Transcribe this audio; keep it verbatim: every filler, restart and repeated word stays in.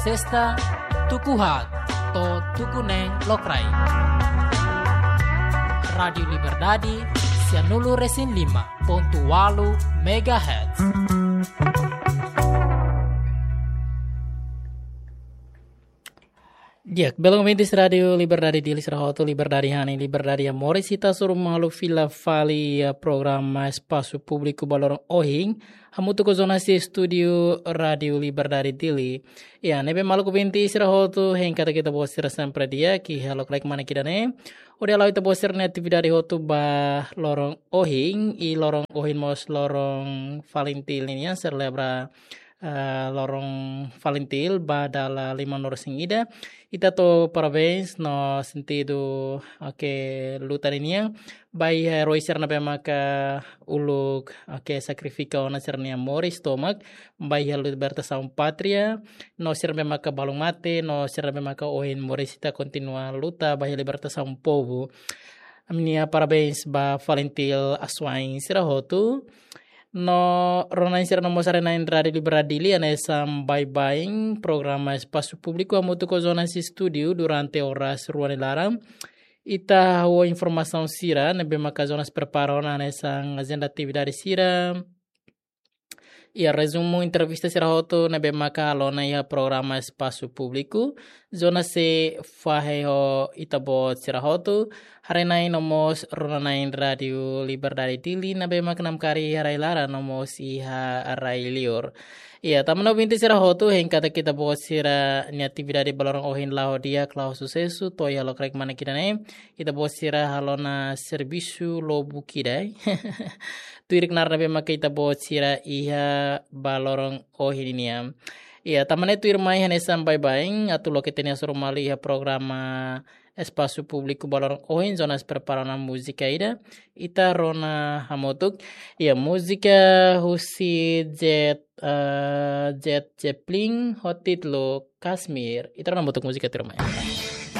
Testa tuku haat to'o tuku neen lokraik. Rádiu Liberdade, sianulu resin lima pontu walu megahertz. Di'ak, belun ouvintes Rádiu Liberdade Dili sira hotu, liberdade hanesan liberdade moris, ita hasoru malu fila fali iha programa Espasu Públiku ba loron ohin, hamutuk ho jornalista estúdiu Rádiu Liberdade Dili. Ya, ne'ebé maluk ouvintes sira hotu, hein katak ita-boot sira sempre di'ak iha lokraik manek ida-ne'e. Hodi hala'o ita-boot sira-nia atividade hotu ba loron ohin, i loron ohin mós loron FALINTIL nian, selebra, eh, loron FALINTIL ba dala limanulu resin ida. Ita hato'o parabéns no sentidu, oke, luta ninian ba iha eroi sira ne'ebé maka uluk, oke, sakrifika ona sira-nia moris tomak ba iha libertasaun pátria, no sira ne'ebé maka balun mate, no sira ne'ebé maka ohin moris, ita kontinua luta ba iha libertasaun povu. Ami-nia parabéns ba FALINTIL asuwa'in sira hotu. No rona-na'in sira no mós haree-na'in Rádiu Liberdade Dili, hanesan baibain programa Espasu Públiku hamutuk ho jornalista estúdiu durante oras rua nia laran. Ita hahú informasaun sira ne'ebé maka jornalista prepara ona, hanesan ajenda atividade sira, iha rezumu entrevista sira hotu ne'ebé maka halo ona iha programa Espasu Públiku. Jornalista sei fahe ho ita-boot sira hotu, haree-na'in no mós rona-na'in Rádiu Liberdade Dili ne'ebé maka namkari iha rai-laran no mós iha rai-liur. Ya, tanba ne'e ouvintes sira hotu, hein katak ita-boot sira-nia atividade ba loron ohin la'o di'ak, la'o susesu, to'o iha lokraik manek ida-ne'e ita-boot sira halo ona servisu lubuk ida. Tuir knaar ne'ebé maka ita-boot sira iha ba loron ohin nian. Ya, tanba ne'e tuirmai hanesan baibain, atu loke ita-nia hasoru malu iha programa Espasu Públiku ba loron ohin, jornalista prepara ona múzika ida. Ita rona hamutuk. Ya, múzika husi Jet, eh, Jet Zeppelin ho títulu Kashmir. Ita rona hamutuk múzika tuirmai.